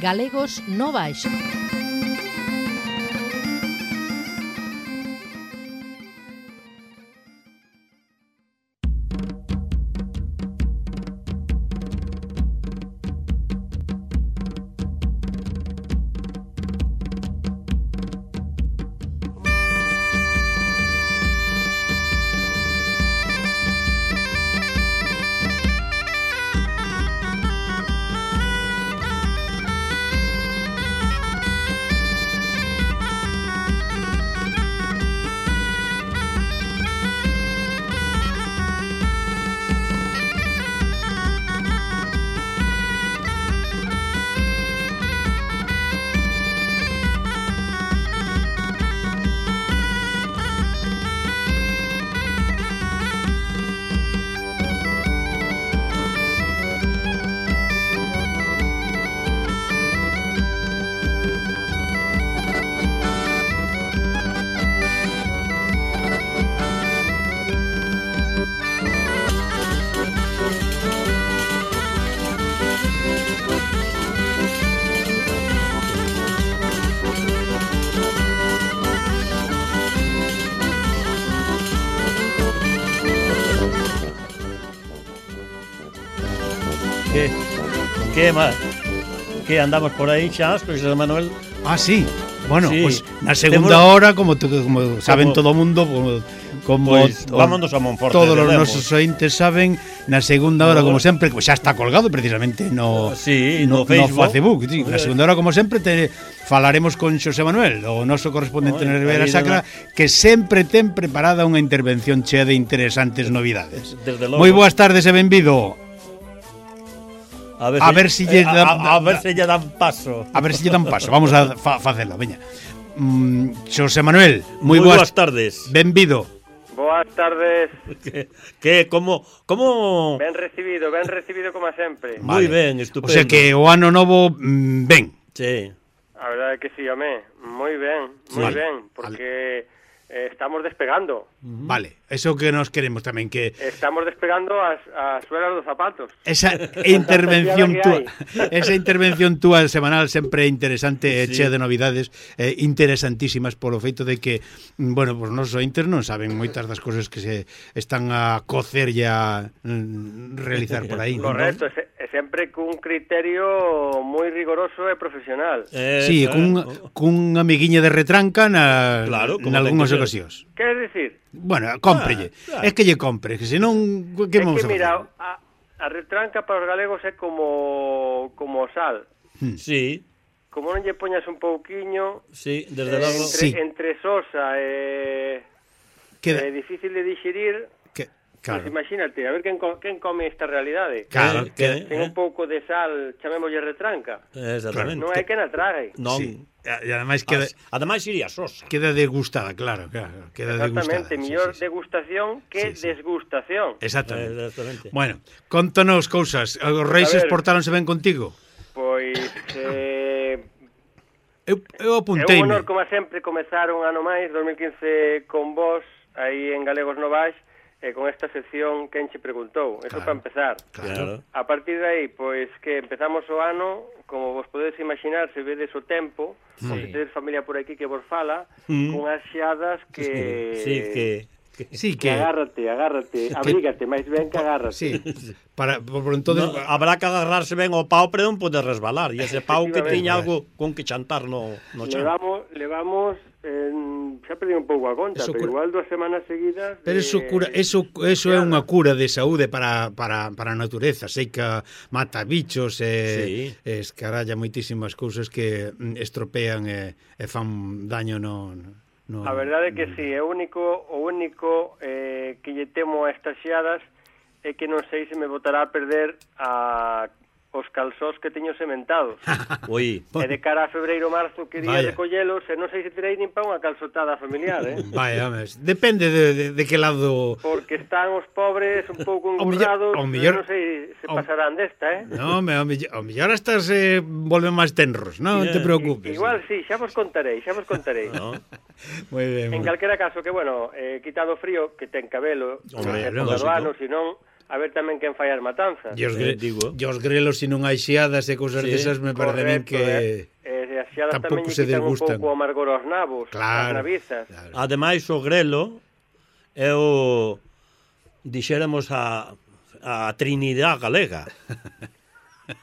Galegos no Baixo. Que andamos por aí xa, José Manuel? Ah, sí. Bueno, sí. Pues na segunda hora, como saben todo o mundo, como pues, vámonos a Monforte. Todos os nosos ointes saben, na segunda hora, como sempre, que xa está colgado precisamente no Facebook. Sí, na segunda hora, como sempre, falaremos con José Manuel, o noso correspondente na Ribeira Sacra, que sempre ten preparada unha intervención chea de interesantes novidades. Moi boas tardes e benvido. A ver se lle dan paso. A ver se lle dan paso. Vamos a facelo, veña. Xosé Manuel, moi boas tardes. Benvido. Boas tardes. Como Ben recibido como sempre. Moi ben, estupendo. O sea que o ano novo ben. Sí. A verdade é que sí, home. Moi ben, porque estamos despegando. Vale, eso que nos queremos tamén, que estamos despegando as suelas dos zapatos. Esa intervención túa semanal sempre é interesante e chea de novidades interesantísimas polo feito de que, bueno, pues nosos ointes non saben moitas das cousas que se están a cocer e a realizar por aí. Correcto, ¿no? É sempre cun criterio moi rigoroso e profesional. Sí, cun amiguiña de retranca nalgúnas ocasións. Queres dicir? Bueno, cómprelle. É que lle compre, que senón que vamos a facer? Mira, a retranca para os galegos é como o sal. Sí. Como non lle poñas un pouquiño, sí, desde logo. Entre sosa e difícil de digerir. Claro. Pues imagínate, a ver quen come esta realidade. Claro, ten un pouco de sal, chamémoslle retranca. Exactamente. Non hai quen a trague. Non. Sí. E ademais queda iría sosa. Queda degustada, claro, queda degustada. Exactamente, mellor degustación que desgustación. Exactamente. Bueno, contanos cousas. Os reis portáronse ben contigo? Pois eu apunteime. É un honor, como sempre, comezar un ano máis, 2015, con vos, aí en Galegos no Baixo, con esta sección quen che preguntou. Eso para empezar. Claro. A partir de aí, pois que empezamos o ano, como vos podedes imaginar, se vedes o tempo, se tedes familia por aquí que vos fala, cunhas xeadas que... Sí, que agárrate, abrígate, máis ben que agárrate. Sí. Por entonces habrá que agarrarse ben ao pau para non poder resbalar, e ese pau que tiña algo con que chantar no chan. Levamos xa perdí un pouco a conta, pero igual 2 semanas seguidas. Pero eso é unha cura de saúde para a natureza, sei que mata bichos e escaralla moitísimas cousas que estropean e fan daño no. A verdade é que sí, o único que lle temo a estas xeadas é que non sei se me botará a perder os calzós que teño sementados. Oi. E de cara a febreiro, marzo, que día recollelos, e non sei se terei nin para unha calzotada familiar, Vai, homes, depende de que lado... Porque están os pobres un pouco engordados, non sei se pasarán desta, Non, ao mellor estas volven máis tenros, non te preocupes. Igual sí, xa vos contarei. No. Moi ben. En calquera caso, que bueno, quitado o frío, que ten cabelo, hombre, do ano, senón... a ver tamén quen fai as matanzas. E os grelos, se non hai xeadas e cousas desas, me parece a min que as xeadas tamén lle quitan un pouco o amargor aos nabos, as navizas. Ademais, o grelo é o, dixéramos, a Trinidade galega.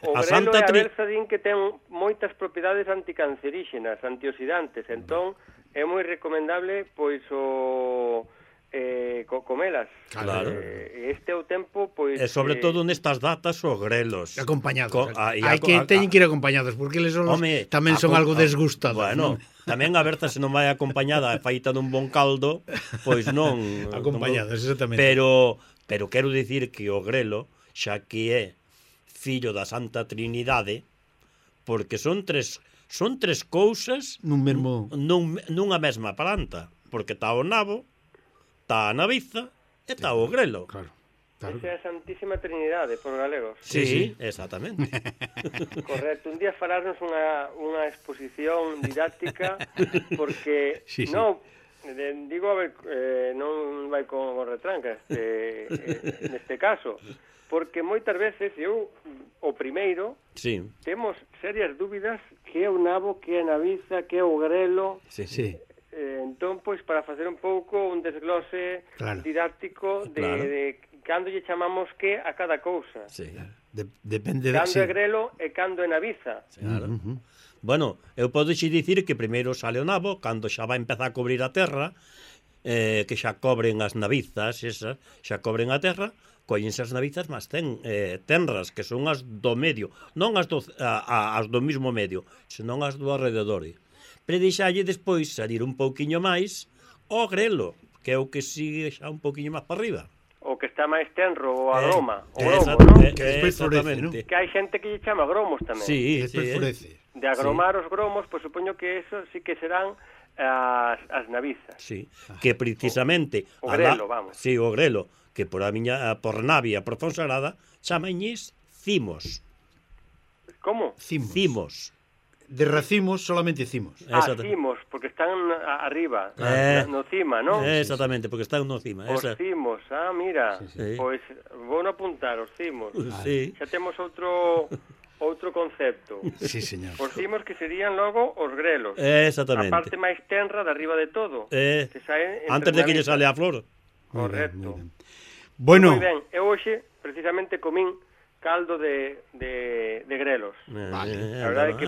O grelo e a berza din que ten moitas propiedades anticanceríxenas, antioxidantes, entón é moi recomendable pois o comelas. Claro. Este é o tempo, pois... E sobre todo nestas datas os grelos. Acompañados. Hai que teñen que ir acompañados, porque eles tamén son algo desgustados. Bueno, tamén a berza se non vai acompañada e feita dun bon caldo, pois non... Acompañados, exactamente. Pero quero dicir que o grelo, xa que é fillo da Santa Trinidade, porque son tres cousas nunha mesma planta, porque está o nabo, está a naviza e está o grelo. Claro. Esa é a Santísima Trinidade, por galegos. Sí, exactamente. Correcto. Un día falarnos unha exposición didáctica, porque non... Digo, a ver, non vai con retrancas neste caso, porque moitas veces o primeiro temos serias dúbidas que é o nabo, que é a naviza, que é o grelo. Entón, pois, para facer un pouco un desglose didáctico de cando lle chamamos que a cada cousa. Depende cando é grelo e cando é naviza. Claro. Bueno, eu podo dicir que primeiro sale o nabo, cando xa vai empezar a cobrir a terra, que xa cobren as navizas, esas, xa cobren a terra, collense as navizas, mas tenras, que son as do medio, non as do mismo medio, senón as do alrededor. Pero deixalle despois salir un pouquiño máis o grelo, que é o que sigue xa un pouquiño máis para arriba. O que está máis tenro, o aroma, o gromo, non? Que despois florece, non? Que hai xente que lle chama gromos tamén. Sí, despois florece. De agromar os gromos, pois supoño que eso sí que serán as navizas. Sí, que precisamente... O grelo, vamos. Sí, o grelo, que por Navia, por Fonsagrada, chamañes cimos. Como? Cimos. De racimos, solamente cimos. Cimos, porque están arriba, no cima, non? Exactamente, porque están no cima. Os cimos, mira, pois vou apuntar os cimos. Xa temos outro concepto. Sí, señor. Os cimos que serían logo os grelos. Exactamente. A parte máis tenra de arriba de todo. Que antes de que lle sale a flor. Correcto. Bueno. Moi ben, eu hoxe precisamente comín caldo de grelos. Vale. A verdade é que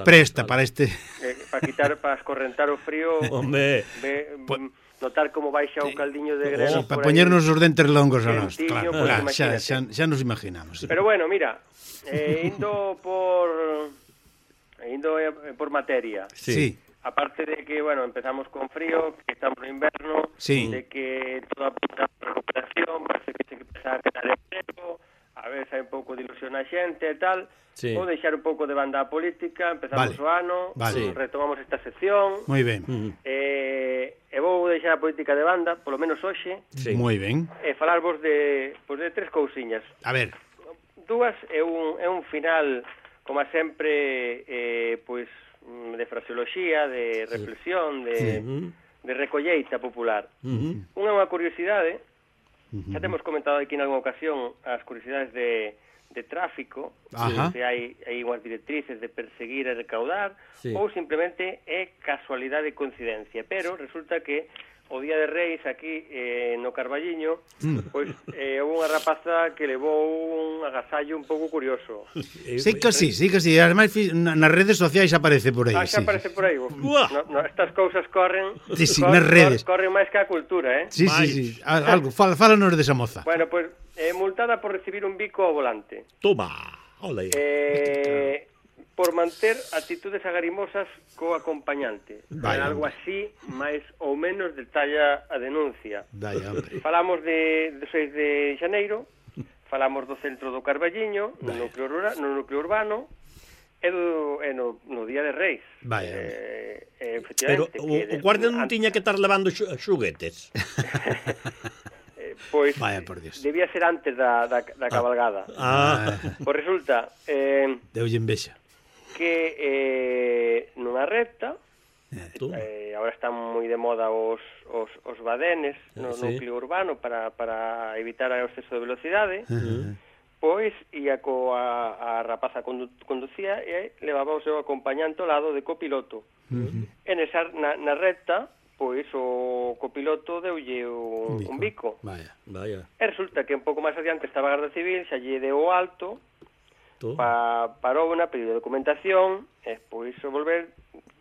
presta para este... para escorrentar o frío. Hombre. Notar como baixa o caldiño de grelos. Para poñernos os dentes longos a nós. Claro, xa nos imaginamos. Pero bueno, mira, indo por materia. Sí. Aparte de que, bueno, empezamos con frío, que estamos no inverno, de que toda a recuperación, parece que se empeza a quedar emprego, a ver se hai un pouco de ilusión a xente e tal. Vou deixar un pouco de banda política, empezamos o ano, retomamos esta sección. Moi ben. E vou deixar a política de banda, polo menos hoxe. Moi ben. E falarvos de tres cousiñas. A ver. Dúas é un final, como sempre, pois de fraseoloxía, de reflexión, de recolleita popular. Unha curiosidade, xa temos comentado aquí en alguna ocasión as curiosidades de tráfico, se hai unhas directrices de perseguir e recaudar, ou simplemente é casualidade e coincidencia, pero resulta que o Día de Reis aquí no Carballiño, pois houve unha rapaza que levou un agasallo un pouco curioso. Sí que sí. Ademais, nas redes sociais aparece por aí. Xa aparece por aí. Estas cousas corren nas redes. Corren máis que a cultura, Sí. Algo, fálanos desa moza. Bueno, pois, multada por recibir un bico ao volante. Toma, ole. Por manter actitudes agarimosas co acompañante. Algo así, máis ou menos detalla a denuncia. Falamos do 6 de xaneiro, falamos do centro do Carballiño, no núcleo urbano, e no Día de Reis. Pero o guardia non tiña que estar levando xuguetes. Pois debía ser antes da cabalgada. Pois resulta deulle envexa que nunha recta Agora están moi de moda os badenes no núcleo urbano para evitar o exceso de velocidade. Pois ia a rapaza conducía e levaba o seu acompañante ao lado de copiloto. E na recta, pois o copiloto deulle un bico. Vaya. E resulta que un pouco máis adiante estaba a Garda Civil, xa lle deu o alto, parou na pedido de documentación, e pois volver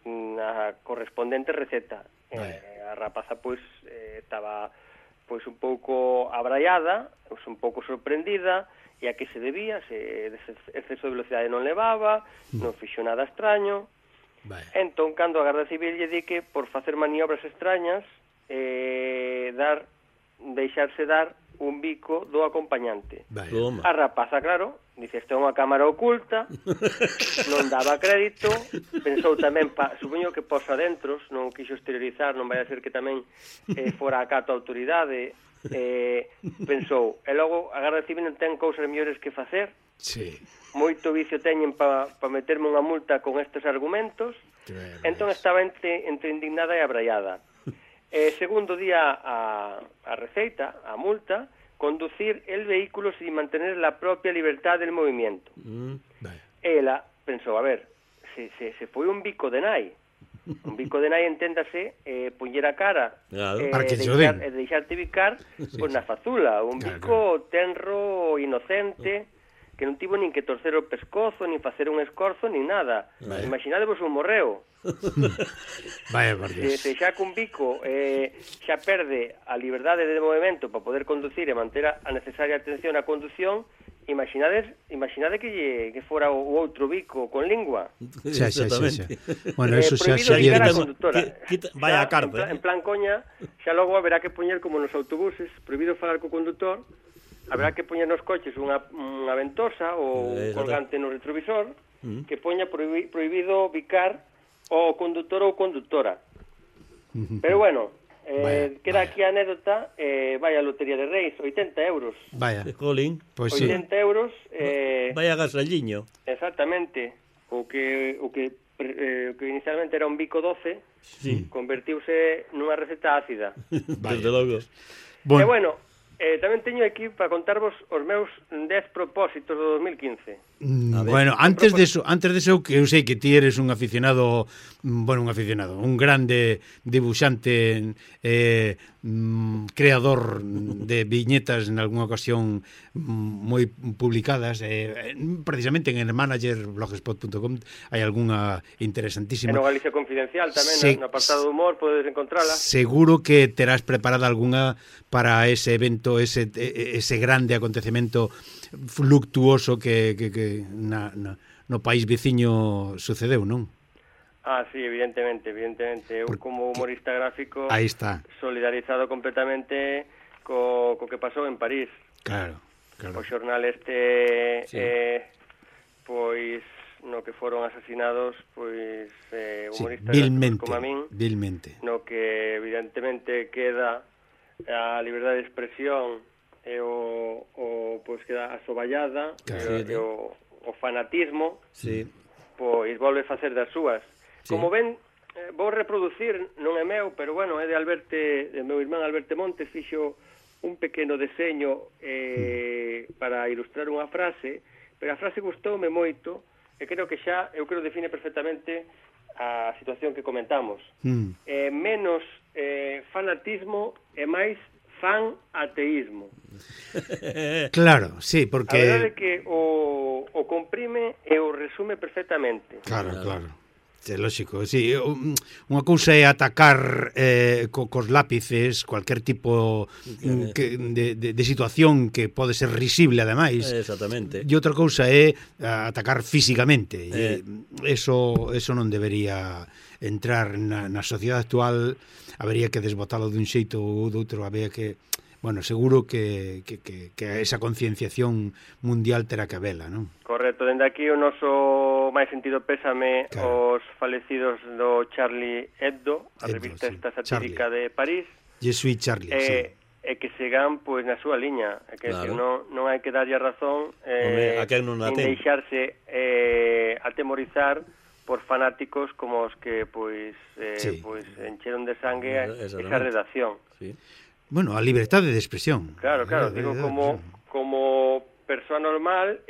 na correspondente receta. A rapaza pois estaba pois un pouco abraiada, un pouco sorprendida, e a que se debía, se exceso de velocidade non levaba, non fixo nada extraño. Entón, cando a Garda Civil lle di que por facer maniobras extrañas deixarse dar un bico do acompañante. A rapaza, claro, dice, isto é unha cámara oculta, non daba crédito, pensou tamén, supoño que pos adentros, non quixo exteriorizar, non vai a ser que tamén fora acato a autoridade. Pensou, e logo a Garda Civil non ten cousas mellores que facer, moito vicio teñen para meterme unha multa con estes argumentos. Entón estaba entre indignada e abraiada. Segundo día a receita, a multa, conducir el vehículo sin mantener la propia libertad del movimiento. Ela pensou, a ver, se foi un bico de nai. Un bico de nai, enténdase, poñer a cara e deixarte bicar na fazula. Un bico tenro, inocente, que non tivo nin que torcer o pescozo, nin facer un escorzo, nin nada. Imaginadevos un morreo. Vaya, por Dios. Se xa cun bico xa perde a liberdade de movimento para poder conducir e manter a necesaria atención á condución, imaginade que fora o outro bico con lingua. Exactamente. Bueno, eso xa sería a conductora. Vaya a cárcel. En plan coña, xa logo haberá que poñer como nos autobuses, prohibido falar co condutor, haberá que poñer nos coches unha ventosa ou colgante no retrovisor que poña prohibido bicar o condutor ou conductora. Pero bueno, queda aquí a anécdota, vai a Lotería de Reis, 80 euros. Vaya, jolín. Pues 80 euros. Vaya gasalliño. Exactamente. O que inicialmente era un bico 12, convertiuse nunha receta ácida. Desde logo. E bueno, tamén teño aquí para contarvos os meus 10 propósitos do 2015. Bueno, antes de eso, que eu sei que ti eres un aficionado, un grande dibuixante, creador de viñetas en algunha ocasión moi publicadas, precisamente en el manager blogspot.com hai algunha interesantísima. E no Galicia Confidencial tamén, no apartado de humor, podes encontrala. Seguro que terás preparada algunha para ese evento, ese grande acontecemento fluctuoso que no país veciño sucedeu, non? Sí, evidentemente. Eu como humorista gráfico aí está, solidarizado completamente co que pasou en París. Claro. O xornal pois no que foron asasinados pois humoristas como a min, vilmente. No que evidentemente queda a liberdade de expresión e pois queda asoballada, e o fanatismo, pois volve facer das súas. Como ven, vou reproducir, non é meu, pero bueno, é de meu irmán Alberto Montes, fixo un pequeno deseño para ilustrar unha frase, pero a frase gustoume moito, e creo que eu creo define perfectamente a situación que comentamos. Menos fanatismo e máis fan ateísmo. Claro, sí, porque a verdade é que o comprime e o resume perfectamente. Claro. É lógico, sí. Unha cousa é atacar cos lápices cualquier tipo de situación que pode ser risible, ademais. Exactamente. E outra cousa é atacar físicamente. Eso non debería entrar na sociedade actual. Habería que desbotalo dun xeito ou doutro, habería que... Bueno, seguro que esa concienciación mundial terá que habela, non? Correcto, dende aquí o noso máis sentido pésame aos falecidos do Charlie Hebdo, a revista esta satírica de París. Je suis Charlie, e que sigan pois na súa liña, que non hai que darlle a razón, a quen non a ten, deixarse atemorizar por fanáticos como os que pois encheron de sangue esa redacción. Sí. Bueno, a liberdade de expresión. Claro, digo como persoa normal,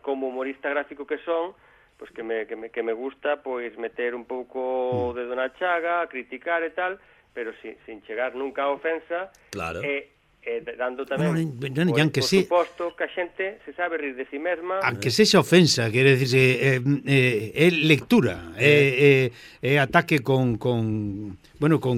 como humorista gráfico que son, pois que me gusta pois meter un pouco o dedo na chaga, criticar e tal, pero sin chegar nunca a ofensa. Claro. Dando tamén, por suposto, que a xente se sabe rir de si mesma. Aunque sexa ofensa, quere dicirse, é lectura, é ataque con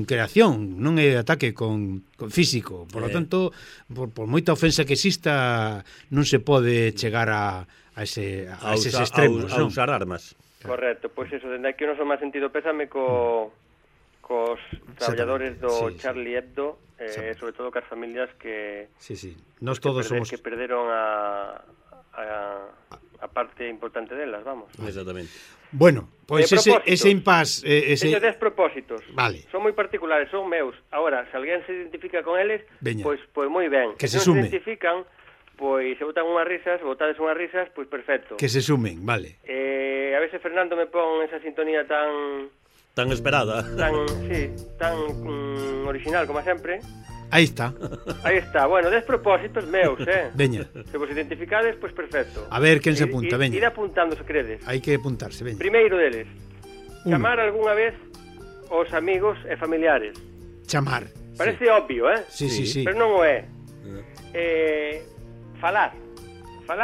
creación, non é ataque con físico. Por lo tanto, por moita ofensa que exista, non se pode chegar a eses extremos. A usar armas. Correcto, pois eso, dende aquí non son máis sentido pésame cos traballadores do Charlie Hebdo, sobre todo cas familias que nós todos somos que perderon a parte importante delas, vamos. Exactamente. Bueno, pois ese impas Teño 10 propósitos. Vale. Son moi particulares, son meus. Agora, se alguén se identifica con eles, pois moi ben. Que se sume. Se identifican, pois se botades unhas risas, pois perfecto. Que se sumen, vale. A veces Fernando me pon esa sintonía tan esperada. Tan original como sempre. Aí está. Bueno, 10 propósitos meus, Veña. Se vos identificades, pois perfecto. A ver quen se apunta, veña. Ir apuntando se credes. Hai que apuntarse, veña. Primeiro deles, chamar algunha vez os amigos e familiares. Chamar. Parece obvio, Sí. Pero non o é. Falar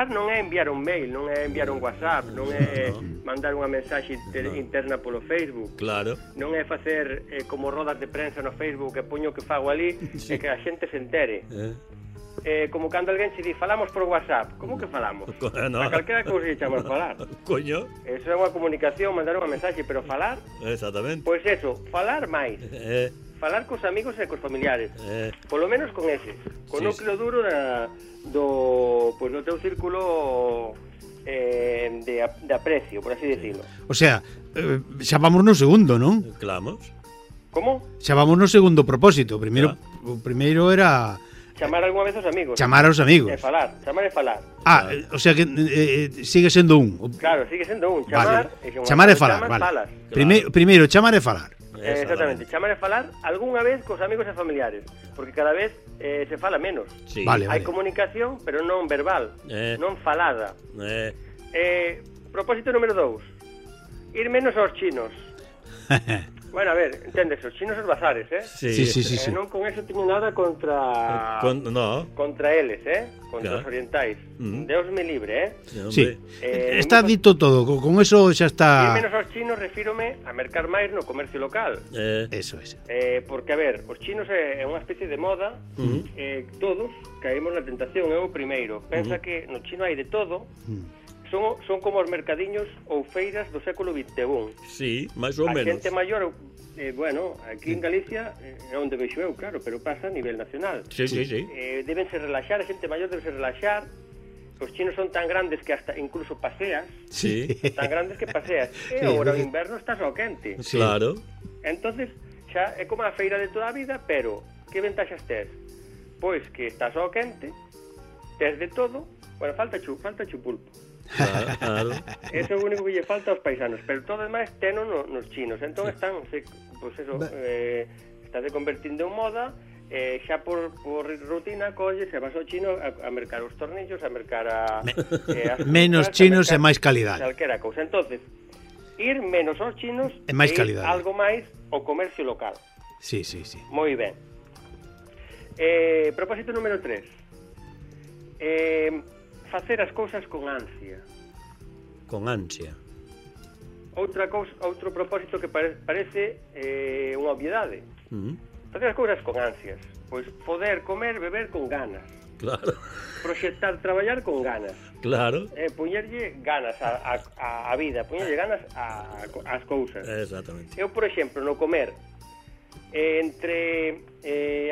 non é enviar un mail, non é enviar un WhatsApp, non é mandar unha mensaxe interna polo Facebook. Claro. Non é facer como rodas de prensa no Facebook que poño que fago ali e que a xente se entere. Como cando alguén se di, falamos por WhatsApp. Como que falamos? A calquera cousa se chama falar. Coño. Eso é unha comunicación, mandar unha mensaxe, pero falar... Exactamente. Pois eso, falar máis. Falar cos amigos e cos familiares. Polo menos con eses. Con núcleo duro do teu círculo de aprecio, por así decirlo. O sea, xa vamos no segundo, non? Clamamos. Como? Xa vamos no segundo propósito. O primeiro era... Chamar algunha vez aos amigos. Chamar aos amigos. Chamar e falar. O sea que sigue sendo un. Claro, sigue sendo un. Chamar e falar, vale. Primeiro, chamar e falar. Exactamente, chamar e falar algunha vez cos amigos e familiares, porque cada vez se fala menos. Sí. Vale. Hai comunicación, pero non verbal, non falada. Propósito número 2. Ir menos aos chinos. Bueno, a ver, entendes, os chinos os bazares, Sí. Non con eso teño nada contra eles, contra os orientais. Deus me libre, Sí, está dito todo, con eso xa está... Ir menos aos chinos refírome a mercar máis no comercio local. Eso. Porque, a ver, os chinos é unha especie de moda, todos caímos na tentación, é o primeiro. Pensa que no chino hai de todo, son como os mercadiños ou feiras do século XXI. Sí, máis ou menos. A xente maior, bueno, aquí en Galicia é onde vexo eu, claro, pero pasa a nivel nacional. Sí. Debense relaxar, a xente maior debe relaxar. Os chinos son tan grandes que hasta incluso paseas. Sí. Tan grandes que paseas. E agora o inverno estás ao quente. Sí. Claro. Entonces, xa é como a feira de toda a vida, pero que ventaxas tes? Pois que estás ao quente, tes de todo. Bueno, falta pulpo. Claro. Eso é o único que lle falta aos paisanos, pero todo demais teno nos chinos. Entón están, estás convertindo en moda, xa por rutina colles e vas ao chino a mercar os tornillos, a mercar menos chinos e máis calidade. Calquera cousa. Entonces, ir menos aos chinos e máis calidade. Algo máis ao comercio local. Sí. Moi ben. Propósito número 3. Facer as cousas con ansia. Con ansia. Outro propósito que parece unha obviedade. Facer as cousas con ansias. Pois poder comer, beber con ganas. Claro. Proxectar, traballar con ganas. Claro. Poñerlle ganas á vida, poñerlle ganas ás cousas. Exactamente. Eu, por exemplo, no comer, entre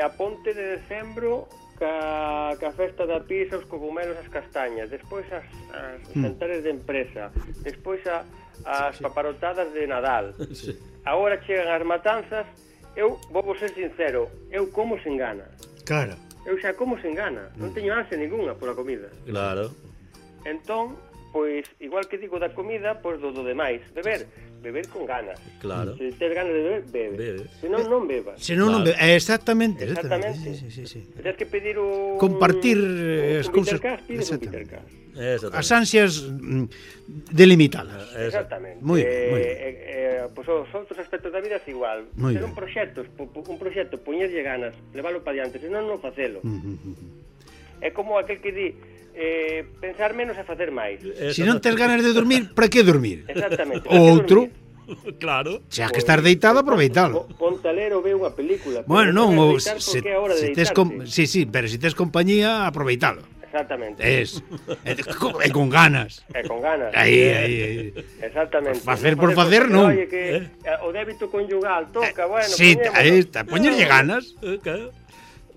a ponte de decembro ca festa da pizza, os cogumelos, as castañas, despois as jantares de empresa, despois as paparotadas de Nadal. Agora chegan as matanzas. Eu vou ser sincero, eu como sen gana. Claro. Eu xa como sen gana, non teño ansia ninguna pola comida. Claro. Entón, pois, igual que digo da comida, pois do demais. Beber con ganas. Claro. Se tes ganas de beber, bebe. Se non, non bebas. Se non, non bebas. Exactamente. Sí. Tens que pedir un... Compartir as cousas. Pides un Peter Cash. As ansias delimitadas. Exactamente. Moi ben. Pois os outros aspectos da vida é igual. Ter un proxecto, poñerlle ganas, leválo para diante, senón non facelo. É como aquel que di pensar menos e facer máis. Se non tes ganas de dormir, para que dormir? Exactamente. O outro, claro. xa que estar deitado, aproveitalo. Ponte a ler ou ve unha película. Bueno, non, se tes sí, pero se tes compañía, aproveitalo. Exactamente. E con ganas. E con ganas. Aí. Exactamente. Facer por facer, non. Oye, que o débito conyugal toca, bueno, sí, aí está, poñerlle ganas. Claro.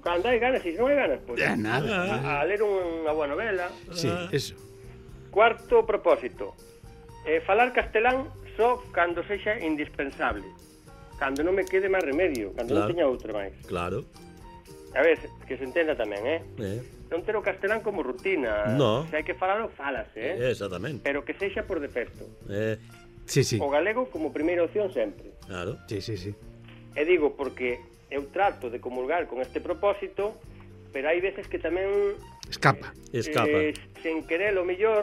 Cando hai ganas, se non hai ganas, pois nada. A ler unha boa novela. Sí, eso. Cuarto propósito. Falar castelán só cando sexa indispensable. Cando non me quede máis remedio, cando non teña outro máis. Claro. A ver, que se entenda tamén, non ter o castelán como rutina. No. Se hai que falalo, falase, Exactamente. pero que sexa por defecto. Sí. O galego como primeira opción sempre. Claro. Sí. E digo porque eu trato de comulgar con este propósito, pero hai veces que tamén escapa. Sen querer o mellor,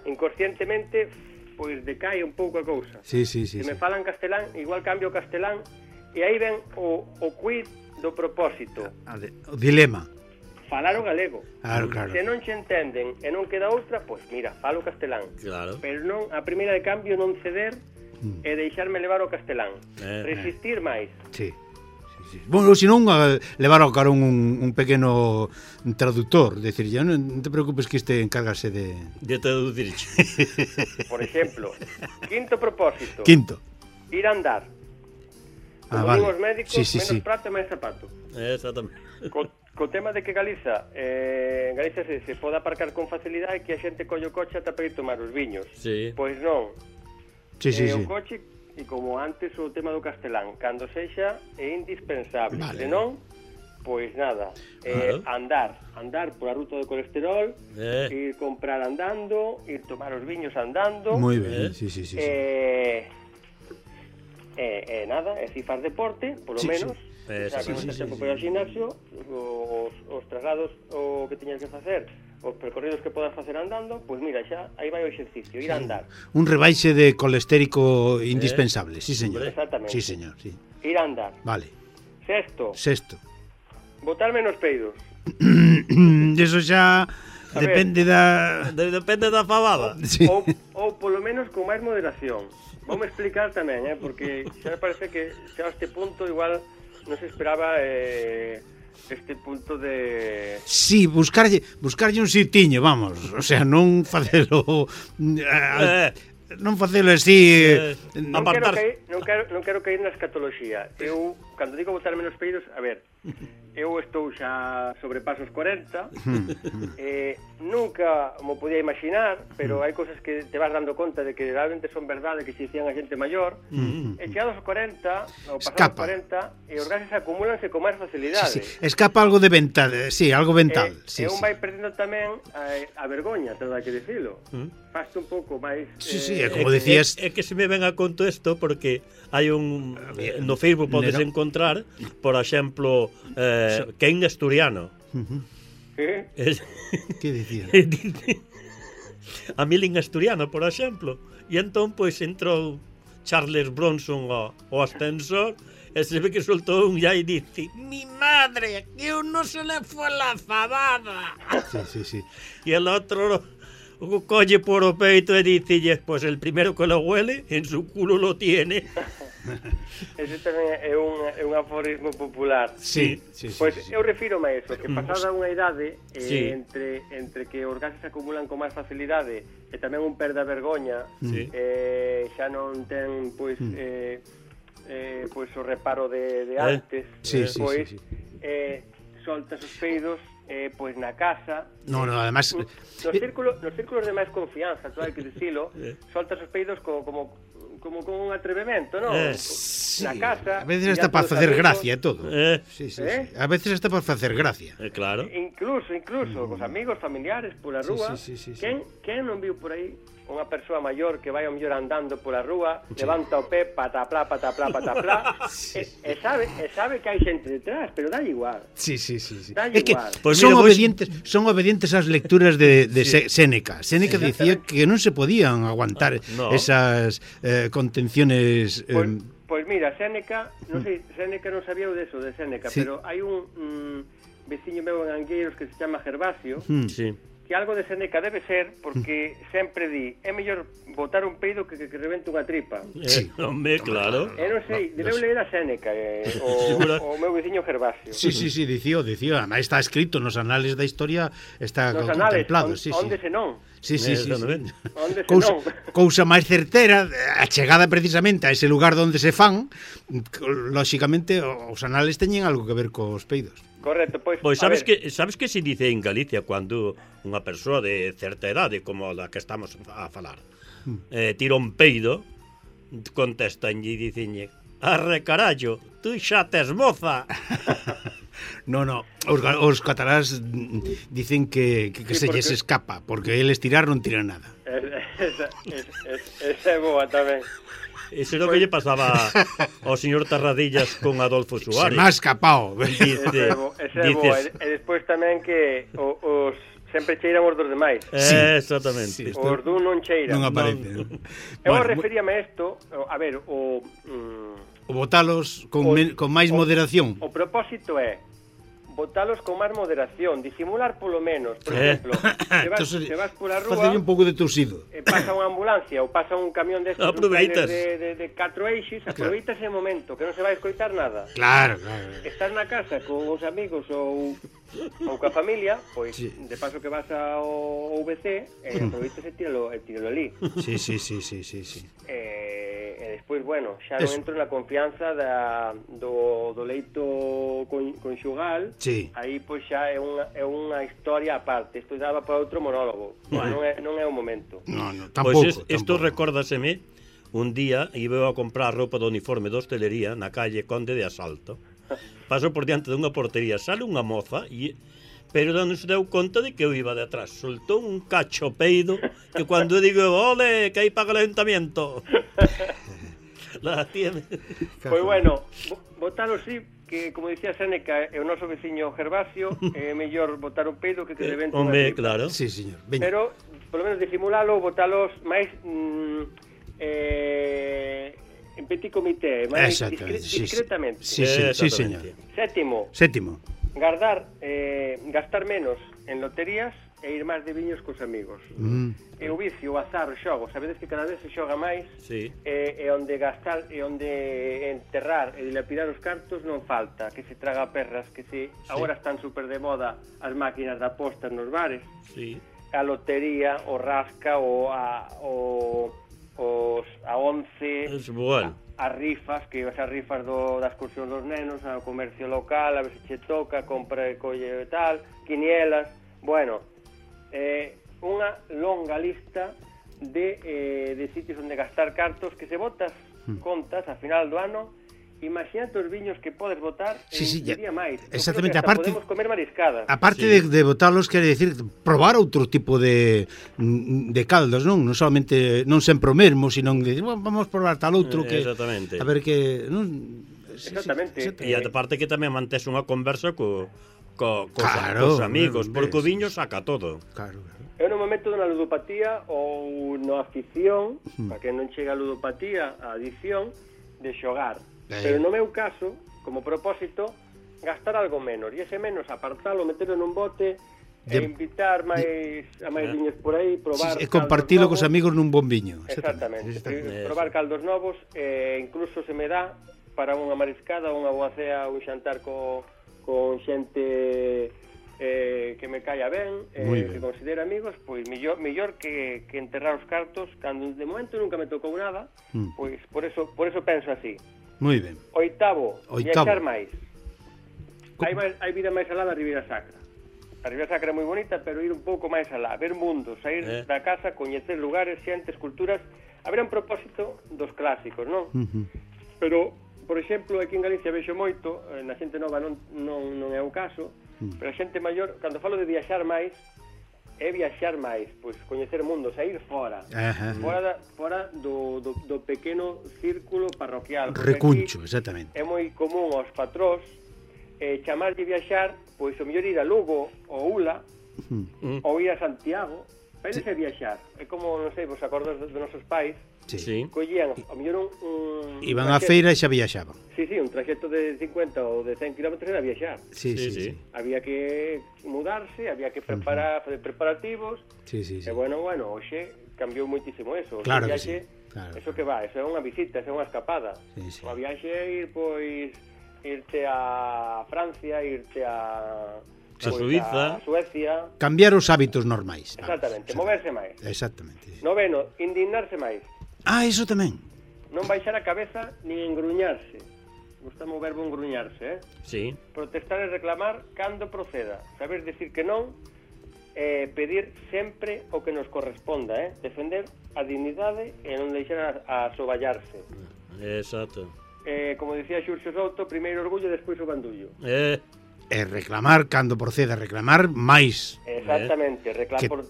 inconscientemente, pois decae un pouco a cousa. Sí. Se me falan castelán, igual cambio o castelán, e aí ven o quid do propósito. O dilema. Falar o galego. Claro. Se non se entenden e non queda outra, pois mira, falo castelán. Claro. Pero non, a primeira de cambio non ceder e deixarme levar o castelán. Resistir máis. Sí. Bueno, se non levar ao carón un pequeno traductor, decir, ya non te preocupes que este encárgase de traducir. Por exemplo, quinto propósito. Ir a andar. Como vale. os médicos, menos prato e máis zapato. Exactamente. Co tema de que Galiza se pode aparcar con facilidade e que a xente colle o coche ata para ir tomar os viños. Sí. Pois non. Sí. O coche, e como antes o tema do castelán, cando sexa é indispensable. Vale. Senón, pois nada, andar por a ruta do colesterol, ir comprar andando, ir tomar os viños andando. Moi ben, sí. Nada, é si faz deporte, polo menos. Xa que non tes tempo para ir ao gimnasio, os traslados o que tiñas que facer, os percorridos que podas facer andando, pois mira, xa aí vai o exercicio, ir a andar. Un rebaixe de colestérico indispensable, sí, señor. Exactamente. Sí, señor, sí. Ir a andar. Vale. Sexto. Botar menos peidos. Eso xa depende da fabada. Sí. Ou polo menos con máis moderación. Voume explicar tamén, porque xa me parece que xa a este punto igual non se esperaba este punto de... Sí, buscarlle un sitiño, vamos. O sea, non facelo... non facelo así... Non quero caer na escatoloxía. Eu, cando digo botar menos peidos, a ver, eu estou xa sobrepaso os 40, nunca mo podía imaginar, pero hai cousas que te vas dando conta de que realmente son verdade, que se dicían a xente maior, e chegados aos 40, ou pasados os 40, e os gases acumúlanse con máis facilidade. Sí. Escapa algo de mental, algo mental. E un vai perdendo tamén a vergoña, todo hai que dicilo. Faste un pouco máis... Sí, como decías... É que se me ven a conto isto porque hai un... No Facebook podes encontrar, por exemplo, Ken Asturiano. Que dicía? A Milling Asturiano, por exemplo. E entón, pois, entrou Charles Bronson ao ascensor e se ve que soltou un ya e dice: mi madre, que eu non se le fue la fabada. Sí. E el outro o colle por o peito e dicille: pues el primero que lo huele, en su culo lo tiene. Ese tamén é un aforismo popular. Sí. Pois eu refiro a eso, que pasada unha idade entre que os gases se acumulan con máis facilidade e tamén un perde a vergoña, xa non ten pois o reparo de antes, pois soltas os peidos pois na casa. No, además nos círculos de máis confianza, todo hai que dicilo, soltas os peidos como con un atrevemento, non? na casa. A veces está para facer gracia e todo. Sí. A veces está para facer gracia. Claro. Incluso, cos amigos, familiares, pola rúa. Quen non viu por aí unha persoa maior que vai ao mellor andando pola rúa, levanta o pé, pataplá, e sabe que hai xente detrás, pero dá igual. Sí. É que pues son obedientes ás lecturas de Séneca. Séneca dicía que non se podían aguantar esas contenciones... Pois mira, Séneca, non sei, Séneca non sabía de eso, de Séneca, pero hai un veciño meu en Angueiros que se chama Gervasio, que algo de Séneca debe ser, porque sempre di, é mellor botar un peido que rebente unha tripa. Hombre, claro. Non sei, debeu ler a Séneca, o meu veciño Gervasio. Sí, dicía. Además está escrito nos anales da historia, está contemplado. Onde se non. Sí. Cousa máis certera, a chegada precisamente a ese lugar onde se fan, lóxicamente os anales teñen algo que ver cos peidos. Correcto, pois sabes que se dice en Galicia cando unha persoa de certa idade como a que estamos a falar tira un peido, contestan e dicenlle: "Arre carallo, tú xa tes moza." No, os catalás dicen que se lles escapa, porque eles tirar non tiran nada. Esa é boa tamén. Eso é o que lle pasaba ao señor Tarradillas con Adolfo Suárez. Se me ha escapado. Ese é boa. E despois tamén que os sempre cheiran os dos demais. Exactamente. Os dun non cheiran. Non aparece. Eu referíame a isto, a ver, o botalos con máis moderación. O propósito é botalos con máis moderación, disimular polo menos. Por exemplo, se vas pola rúa, facer un pouco de tosido, pasa unha ambulancia ou pasa un camión destes de 4 eixes, aproveitas ese momento que non se vai escoitar nada. Claro. Estás na casa con os amigos ou coa familia, pois de paso que vas ao VC, aproveitas e tíralo ali. Sí. E despois, bueno, xa non entro na confianza do leito conxugal. Aí pois xa é unha historia aparte. Isto daba para outro monólogo. Non é o momento. Tampouco. Pois isto recórdaseme un día iba a comprar roupa de uniforme de hostelería na calle Conde de Asalto. Paso por diante dunha portería, sale unha moza pero non se deu conta de que eu iba de atrás. Soltou un cacho peido que cando eu digo, ole, que hai para calentamiento. La tiene. Pois bueno, botalo sí, que como dicía Séneca, é o noso veciño Gervasio, é mellor botar un peido que rebente unha tripa. Claro. Sí, señor. Pero, polo menos disimulalo, botalos máis en petit comité, máis discretamente. Sí, señor. Sétimo. Gastar menos en loterías e ir máis de viños cos amigos. E o vicio, o azar, o xogo, sabedes que cada vez se xoga máis, e onde gastar, e onde enterrar e dilapidar os cartos non falta, que se traga perras, que agora están super de moda as máquinas de apostas nos bares, a lotería, o rasca, a 11, as rifas, que as rifas das excursión dos nenos, ao comercio local, a ver se che toca, compra e colle e tal, quinielas, bueno, unha longa lista de sitios onde gastar cartos que se botas contas a final do ano. Imagínate os viños que podes botar día máis. Exactamente, aparte podemos comer mariscadas. Aparte de botarlos, quere decir probar outro tipo de caldos, non solamente non sempre o mesmo, sino de vamos probar tal outro que exactamente. A ver que exactamente. E aparte que tamén mantes unha conversa cos amigos, porque o viño saca todo. Claro. Eu no momento dunha ludopatía ou na afición, para que non chega a ludopatía, a adicción de xogar. Pero no meu caso, como propósito, gastar algo menos. E ese menos, apartalo, meterlo nun bote e invitar a máis viños por aí, probar e compartilo cos amigos nun bon viño. Exactamente. Probar caldos novos, incluso se me dá para unha mariscada, unha boa cea, un xantar con xente que me caia ben, que considera amigos, pois mellor que enterrar os cartos, cando de momento nunca me tocou nada, pois por eso penso así. Moi ben. Oitavo. Viaxar máis. Hai vida máis alá da Ribeira Sacra. A Ribeira Sacra é moi bonita, pero ir un pouco máis alá, ver mundos, sair da casa, coñecer lugares, xentes, culturas. Haberá un propósito dos clásicos, non? Pero por exemplo, aquí en Galicia vexo moito, na xente nova non é o caso, pero a xente maior, cando falo de viaxar máis, é viaxar máis, pois coñecer o mundo, sair fora, fora do pequeno círculo parroquial. Recuncho, exactamente. É moi común aos patróns chamarlle viaxar, pois o mellor ir a Lugo ou Ula, ou ir a Santiago, para irse viaxar. É como, non sei, vos acordos dos nosos pais, collían, ao mellor iban á feira e xa viaxaban. Sí, un traxecto de 50 ou de 100 km era viaxar. Sí. Había que mudarse, había que preparar, fazer preparativos. Sí. E bueno, hoxe cambiou moitísimo eso. Claro que viaxe, sí. Claro. Eso que va, eso é unha visita, eso é unha escapada. Sí. A viaxe é ir, pois, irte a Francia, irte a Suiza, a Suecia. Cambiar os hábitos normais. Exactamente, moverse máis. Exactamente. Noveno, indignarse máis. Iso tamén. Non baixar a cabeza nin engruñarse. Gustame o verbo engruñarse, Sí. Protestar e reclamar cando proceda. Saber decir que non, pedir sempre o que nos corresponda, Defender a dignidade e non deixar a soballarse. Exacto. Como dicía Xurxo Souto, primeiro orgullo e despois o bandullo. E reclamar cando proceda, reclamar máis. Exactamente,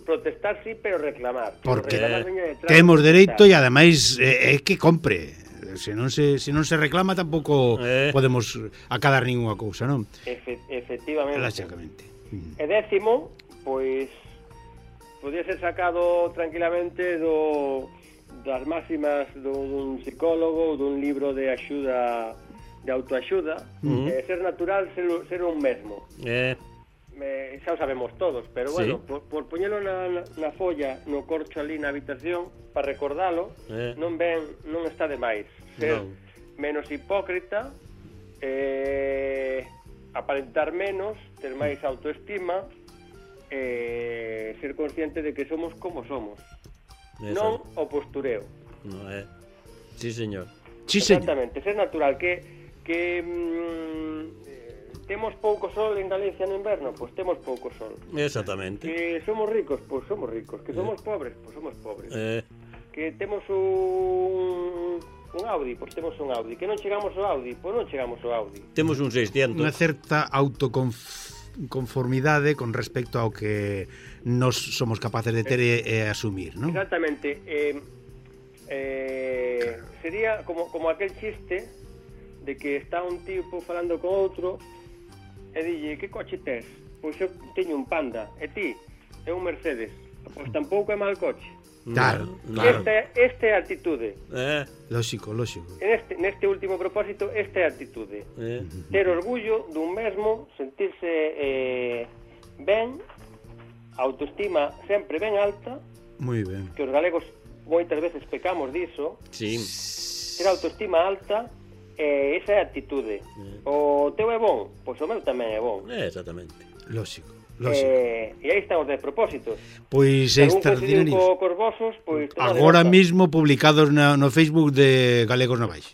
protestar sí, pero reclamar. Porque reclamar temos dereito e ademais é que compre. Se non se reclama tampouco podemos acadar ninguna cousa, non? Efectivamente. Lógicamente. E décimo, pois podía ser sacado tranquilamente das máximas dun psicólogo ou dun libro de axuda, de autoaxuda, ser natural, ser un mesmo. Xa o sabemos todos, pero bueno, por poñelo na folla, no corcho ali na habitación, para recordalo, non está de máis. Ser menos hipócrita, aparentar menos, ter máis autoestima, ser consciente de que somos como somos. Non o postureo. Sí, señor. Exactamente, ser natural, que temos pouco sol en Galicia no inverno, pois temos pouco sol. Exactamente. Que somos ricos, pois somos ricos. Que somos pobres, pois somos pobres. Que temos un Audi, pois temos un Audi. Que non chegamos ao Audi, pois non chegamos ao Audi. Temos un 600. Unha certa autoconformidade con respecto ao que nos somos capaces de ter e asumir, non? Exactamente. Sería como aquel chiste de que está un tipo falando con outro e dille, que coche tes? Pois eu teño un Panda, e ti? É un Mercedes. Pois tampouco é mal coche. Claro. Esta é a actitude. Lógico. Neste último propósito, esta é a actitude. Ter orgullo dun mesmo, sentirse ben, autoestima sempre ben alta. Moi ben. Que os galegos moitas veces pecamos diso. Sí. Ter autoestima alta, esa é a actitude. O teu é bon, pois o meu tamén é bon. Exactamente. Lógico. E aí están os 10 propósitos. Pois extraordinarios. Pois agora mismo publicados no Facebook de Galegos Novais.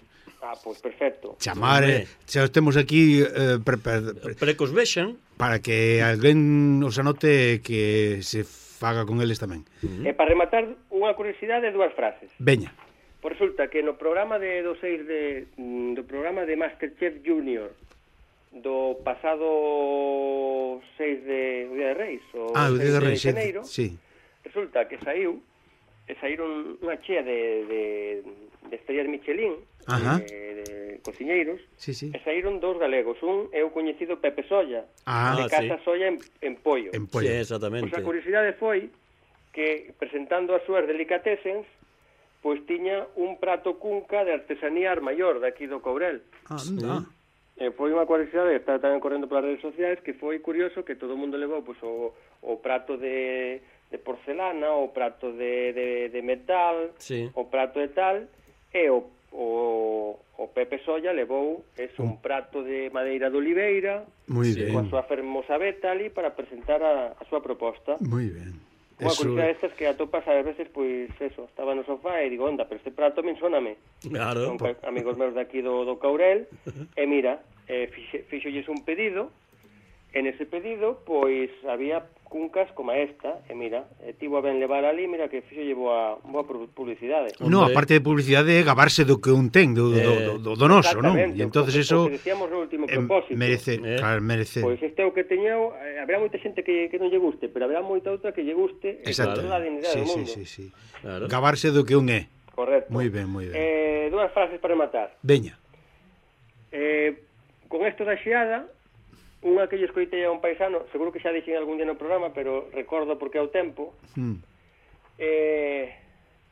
Pois perfecto. Chamar, xa os temos aquí para que os vexan, para que alguén os anote que se faga con eles tamén. E para rematar, unha curiosidade, dúas frases. Veña. Resulta que no programa do programa de Masterchef Junior do pasado 6 de Día de Reis, o Día de Reis, xaneiro, sí. Resulta que saíron unha chea de estrellas Michelin, de cociñeiros, e saíron dous galegos. Un é o coñecido Pepe Solla, de Casa Solla en Pollo. Sí, exactamente. Pois a curiosidade foi que, presentando as súas delicatessens, pois tiña un prato cunca de artesanía Armaior, daqui do Courel. Foi unha curiosidade que está tamén correndo polas redes sociais, que foi curioso que todo o mundo levou pois, o prato de porcelana, o prato de metal, o prato de tal, e o Pepe Solla levou un prato de madeira de oliveira, coa súa fermosa veta ali, para presentar a súa proposta. Moi ben. Unha curiosidade destas que atopas a veces, pois eso, estaba no sofá e digo, onda, pero este prato me ensóname. Claro. Son amigos meus daqui do Courel, e mira, fixolles un pedido, en ese pedido, pois, había cuncas como esta, e mira, tivo a ben levar ali, mira que fixo boa publicidade. No, aparte de publicidade, gabarse do que un ten, do noso, non? E entonces eso decíamos no último propósito. Merece. Pois este é o que teño, habrá moita xente que non lle guste, pero habrá moita outra que lle guste, e toda a dignidade do mundo. Sí. Claro. Gabarse do que un é. Correcto. Moi ben. Dúas frases para rematar. Veña. Con isto da xeada, unha que lle escoitei a un paisano, seguro que xa dixen algún día no programa, pero recordo porque é o tempo,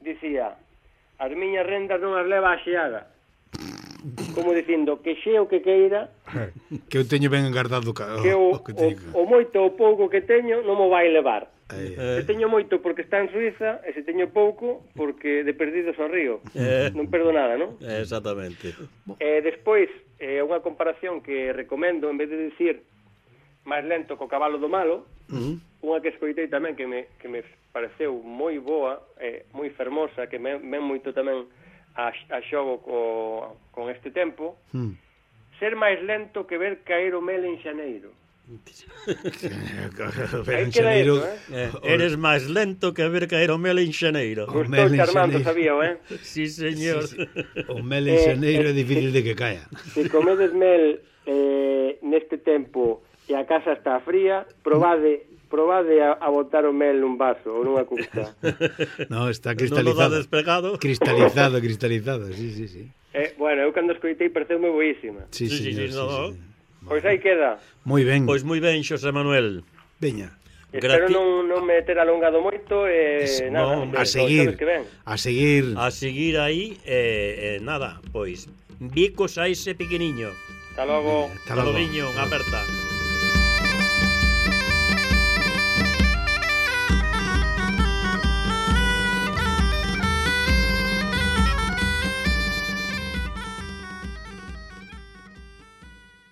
dicía, as miñas rendas non as leva a xeada, como dicindo, que xe o que queira, que eu teño ben engardado que o moito ou pouco que teño non mo vai levar. Se teño moito porque está en Suiza, e se teño pouco porque de perdidos ao río. Non perdo nada, non? Exactamente. Despois, unha comparación que recomendo, en vez de dicir máis lento co cabalo do malo, unha que escoitei tamén que me pareceu moi boa, moi fermosa, que ven moito tamén a xogo con este tempo, ser máis lento que ver caer o mel en xaneiro. Aí queda eso, eres máis lento que ver caer o mel en xaneiro. Gustou Armando, sabíao, Sí, señor. O mel en xaneiro é difícil de que caia. Se comedes mel neste tempo e a casa está fría, probade a botar o mel nun vaso ou nunha custa. No, está cristalizado. Cristalizado, sí. Bueno, eu cando escoitei pareceume boísima. Sí. Pois aí queda. Moi ben. Pois moi ben, Xosé Manuel. Veña. Espero non me ter alongado moito nada, a seguir aí nada, pois bicos a ese pequeniño. Hasta logo. Hasta logo, unha aperta.